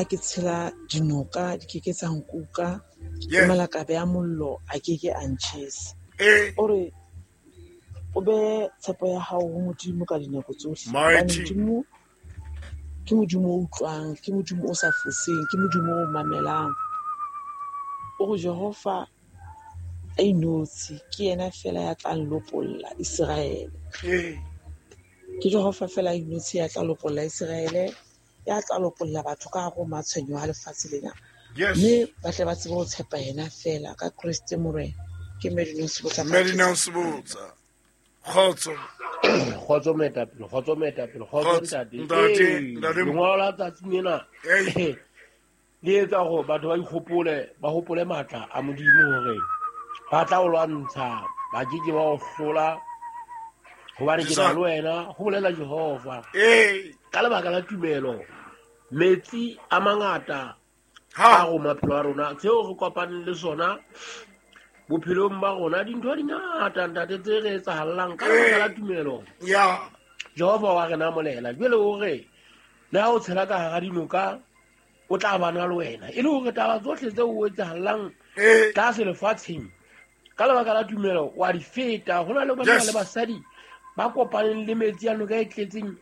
ha ke tshela dinoka di ke ke tsa nkuka, le malakabe a mollo a ke ke a ntjhesa. O re o be tshepo ya hao ho Modimo ka dinako tsohle. Hobane Modimo ke Modimo o utlwang, ke Modimo o sa foseng, ke Modimo o mamelang. O re Jehova a inotshi ke yena fela ya tla lopolla Iseraele. Ke Jehova fela a inotshi ya tla lopolla Iseraele, ya tla lopolla batho ka hare ho matshwenyeho a lefatshe lena. Mme ba tle ba tsebe ho tshepa yena fela ka Kreste Morena. Ke Medina Sebotsa. Medina Sebotsa. Kgotso. Kgotso moetapele, kgotso moetapele, kgotso ntate. Ntate, ntate. Lengolo la tsatsi lena. Le etsa gore batho ba ikgopole, ba hopole matla a Modimo hore ba tla o lwantsha, ba ke ke ba o hlola, hobane ke na le wena, ho bolela Jehova. Ka lebaka la tumelo, metsi a mangata a go maphelo a rona, tseo re kopaneng le sona bophelong ba rona, dintho di ngata ntate tse re etsahallang ka lebaka la tumelo. Jehova wa rena molela jwale o re le ha o tshela ka hara dinoka o tla bana le wena, e le hore taba tsohle tse o etsahallang tlase lefatsheng ka lebaka la tumelo wa di feta. Ho na le banna le basadi ba kopaneng le metsi a noka e tletseng,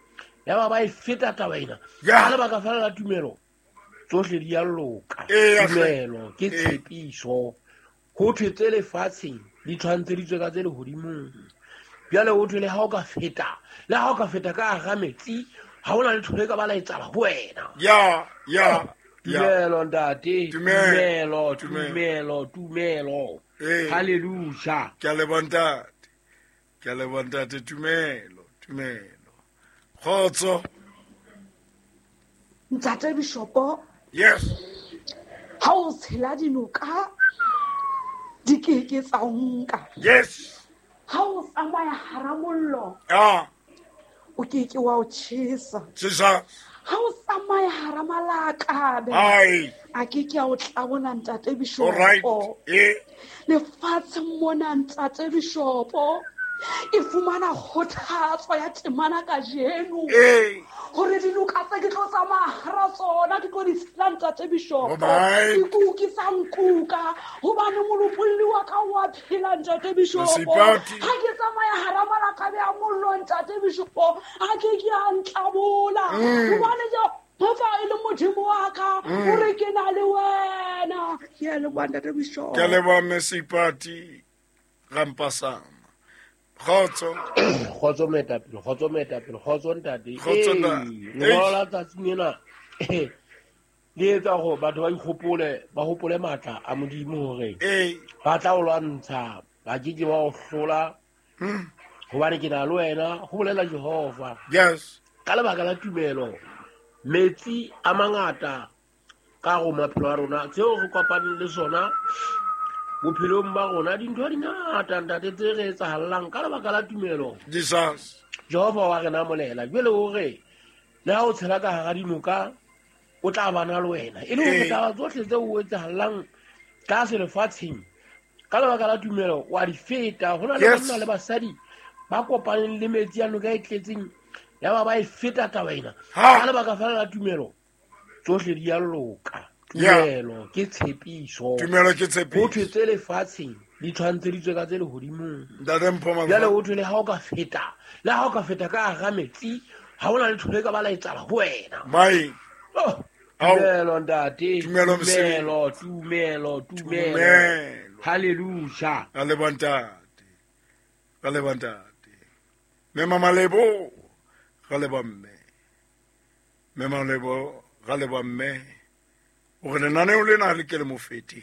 ya ba ba e feta taba ena ka lebaka fela la tumelo, tsohle di a loka. Tumelo ke tshepiso. Ho thwe tse lefatsheng di tshwantsheditswe ka tse lehodimong. Jwale ho thwe le ha o ka feta, le ha o ka feta ka hara metsi, ha hona letho le ka ba la etsahala ho wena. Tumelo ntate, tumelo, tumelo, tumelo. Hallelujah. Ke a leboha ntate. Ke a leboha ntate, tumelo, tumelo. Kgotso. Ntate Bishopo. Yes. Ha o tshela dinoka di ke ke tsa nka. Yes. Ha o tsamaya hara mollo. O ke ke wa o tjhesa. Tjhesa. Ha o tsamaya hara malakabe. A ke ke a o tlabola ntate Bishopo. All right. Lefatshe mona ntate Bishopo. E fumana kgothatso ya temana kajeno. Hore dinoka tse ke tlo tsamaya hara tsona, ke tlo di tshela ntate Bishopo. Ke kuki sa nkuka, hobane molopolli wa ka wa phela ntate Bishopo. Ha ke tsamaya hara malakabe a mollo ntate Bishopo, a ke ke a ntlabola. Hobane Jehova e le Modimo wa ka, o re ke na le wena. Ke a leboha ntate Bishopo. Ke a leboha Mme Seipati Rampasama. Kgotso. Kgotso moetapele, kgotso moetapele, kgotso ntate. Kgotso ntate. Lengolo la tsatsi lena le etsa gore batho ba ikgopole, ba hopole matla a Modimo hore ba tla o lwantsha, ba ke ke ba o hlola, hobane ke na le wena, ho bolela Jehova. Ka lebaka la tumelo, metsi a mangata ka go maphelo a rona, tseo re kopaneng le sona bophelong ba rona, dintho di ngata ntate tse re etsahallang ka lebaka la tumelo. Jesus. Jehova wa rena molela jwale o re le ha o tshela ka hara dinoka o tla bana le wena, e le hore taba tsohle tse o etsahallang tlase lefatsheng ka lebaka la tumelo wa di feta. Ho na le banna le basadi ba kopaneng le metsi a noka e tletseng, ya ba ba e feta taba ena ka lebaka fela la tumelo, tsohle di a loka. Tumelo ke tshepiso. Tumelo ke tshepiso. Ho thwe tse lefatsheng di tshwantsheditswe ka tse lehodimong. Ntate Mpho Mabona. Jwale ho thwe le ha o ka feta, le ha o ka feta ka hara metsi, ha hona letho le ka ba la etsahala ho wena. Mai. Oh, tumelo ntate. Tumelo mosebetsi. Tumelo, tumelo, tumelo. Tumelo. Hallelujah. Ra leboha ntate. Ra leboha ntate. Mme Mamalebo, ra leboha mme. Mme Mamalebo, ra leboha mme. O re lenaneo lena le ke le mo fete.